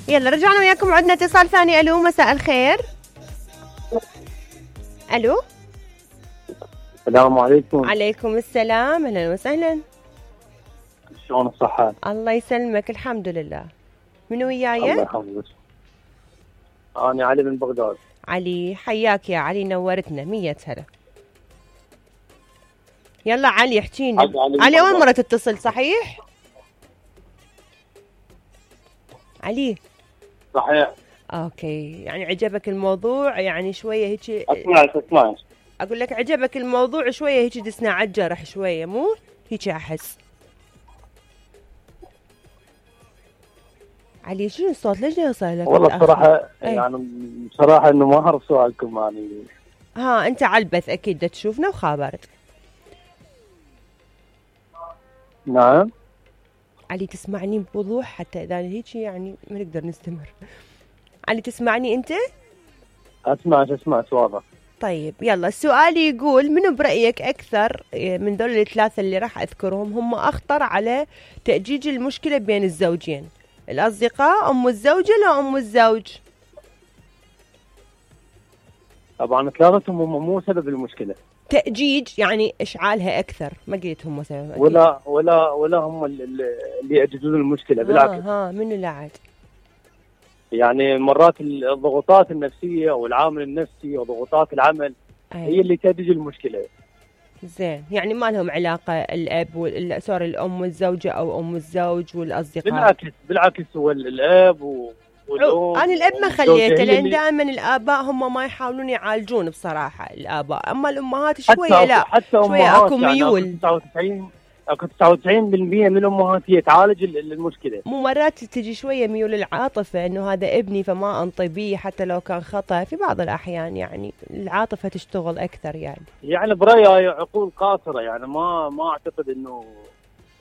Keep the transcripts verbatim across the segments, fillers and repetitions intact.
يلا رجعنا وياكم وعدنا اتصال ثاني. الو مساء الخير. الو السلام عليكم. عليكم السلام، اهلا وسهلا. شلون الصحة؟ الله يسلمك، الحمد لله. منو وياي؟ الله يحفظك. انا علي من بغداد. علي، حياك يا علي، نورتنا. مية هلا. يلا علي احكيني. علي, علي, علي اول مرة تتصل صحيح؟ علي صحيح. اوكي، يعني عجبك الموضوع يعني شوية هيك؟ اسمعك اسمعك اقول لك عجبك الموضوع شوية هيك، دسنا عالجرح شوية، مو هيك احس. علي شنو الصوت؟ ليش يوصل لك؟ والله بصراحة يعني بصراحة انه ما اعرف سؤالكم يعني. ها انت على البث اكيد دا تشوفنا وخابرت. نعم علي تسمعني بوضوح حتى اذا هيك يعني ما نقدر نستمر. علي تسمعني انت؟ اسمعك اسمعك واضح. طيب يلا، السؤال يقول منو برأيك أكثر من دول الثلاثة اللي راح أذكرهم هم أخطر على تأجيج المشكلة بين الزوجين؟ الأصدقاء، أم الزوجة، لا أم الزوج؟ طبعا ثلاثتهم هم مو سبب المشكلة. تأجيج يعني إشعالها أكثر، ما قلت هم سبب. ولا ولا ولا هم اللي يأججون المشكلة، بالعكس. ها, ها منو لا عاد؟ يعني مرات الضغوطات النفسية والعامل النفسي وضغوطات العمل أي. هي اللي تأجج المشكلة. زين، يعني ما لهم علاقة الأب وال سوري الأم والزوجة أو أم الزوج والأصدقاء؟ بالعكس بالعكس، هو الأب و... والأم. أنا الأب ما خليته، لأن دائما الآباء هم ما يحاولون يعالجون بصراحة الآباء، أما الأمهات شوية حتى لا حتى شوية أكو ميول. يعني تسعة وتسعين اكو تسعة وتسعين بالمئة من الامهات هي تعالج المشكله. مو مرات تجي شويه ميول العاطفه، انه هذا ابني فما انطي بيه حتى لو كان خطا في بعض الاحيان، يعني العاطفه تشتغل اكثر يعني. يعني برايي عقول قاصره، يعني ما ما اعتقد انه،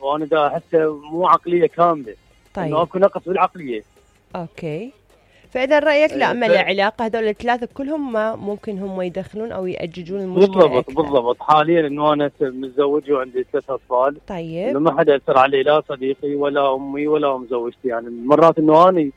وانا دا احسه مو عقليه كامله. طيب انه اكو نقص بالعقليه. اوكي، فاذا رايك لا ما له علاقه، هذول الثلاثه كلهم ما ممكن هم يدخلون او ياججون المشكله بالضبط أكثر. بالضبط. حاليا انه انا متزوج وعندي ثلاث اطفال. طيب انه ما حدا اثر علي، لا صديقي ولا امي ولا ام زوجتي. يعني مرات انه اني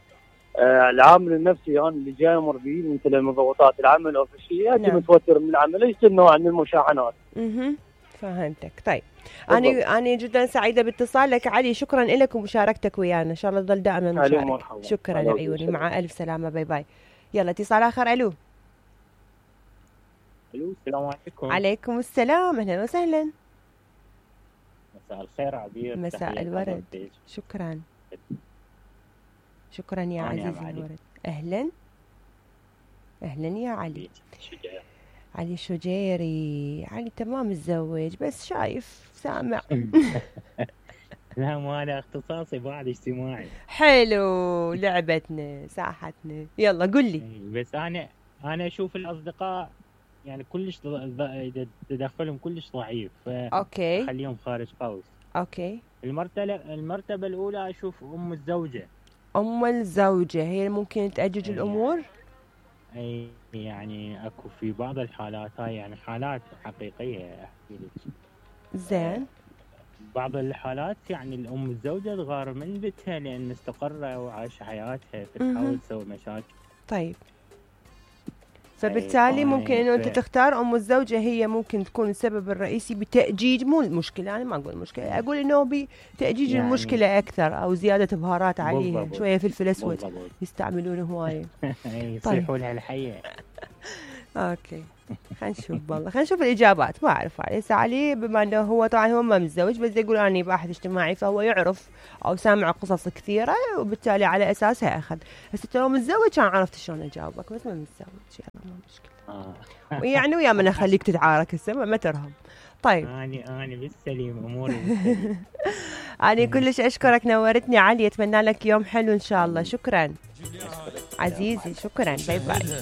آه العامل النفسي انا اللي جاي امر به مثل من ضغوطات العمل او في شيء، اجي نعم. متوتر من العمل، ليس نوع من المشاحنات. اها فهمتك. طيب أنا أنا جدا سعيدة باتصالك علي، شكرا لك ومشاركتك ويانا، إن شاء الله تظل دائما مشارك. شكرا عيوني، مع ألف سلامة، باي باي. يلا اتصال آخر. ألو ألو السلام عليكم. عليكم السلام، أهلا وسهلا. مساء الخير عبير. مساء الورد. شكرا شكرا يا عزيزي الورد. أهلا أهلا يا علي. شجاع. علي شجيري. علي تمام متزوج بس شايف سامع. لا مو هذا اختصاصي، بعد اجتماعي. حلو، لعبتنا ساحتنا. يلا قل لي. بس انا انا اشوف الاصدقاء يعني كلش تدخلهم كلش ضعيف، اوكي خليهم خارج قوس. اوكي. المرتبه المرتبه الاولى اشوف ام الزوجه. ام الزوجه هي ممكن تأجج الامور. اي يعني اكو في بعض الحالات، هاي يعني حالات حقيقيه احكي لك. زين. بعض الحالات يعني الام الزوجه تغار من بيتها لان استقر وعاش حياتها، فتحاول تسوي مشاكل. طيب فبالتالي ممكن انه انت تختار ام الزوجه، هي ممكن تكون السبب الرئيسي بتأجيج، مو المشكله، انا ما اقول المشكله، اقول انه بتأجيج يعني المشكله اكثر او زياده بهارات عليها. بالضبط. شويه فلفل اسود يستعملونه هوايه. يصيحوا لها الحيه. اوكي خلينا نشوف والله، خلينا نشوف الاجابات. ما اعرف علي علي بما انه هو طبعا هو ما متزوج، بس يقول اني باحث اجتماعي فهو يعرف او سامع قصص كثيره وبالتالي على اساسها اخذ. هسه لو متزوج كان عرفت شلون اجاوبك، بس ما متزوج يلا ما مشكله. آه. يعني ويا من اخليك تتعارك هسه ما ترهم. طيب اني اني بالسليم اموري بالسليم. انا كلش اشكرك، نورتني علي، اتمنى لك يوم حلو ان شاء الله. شكرا عزيزي، شكرا، باي باي.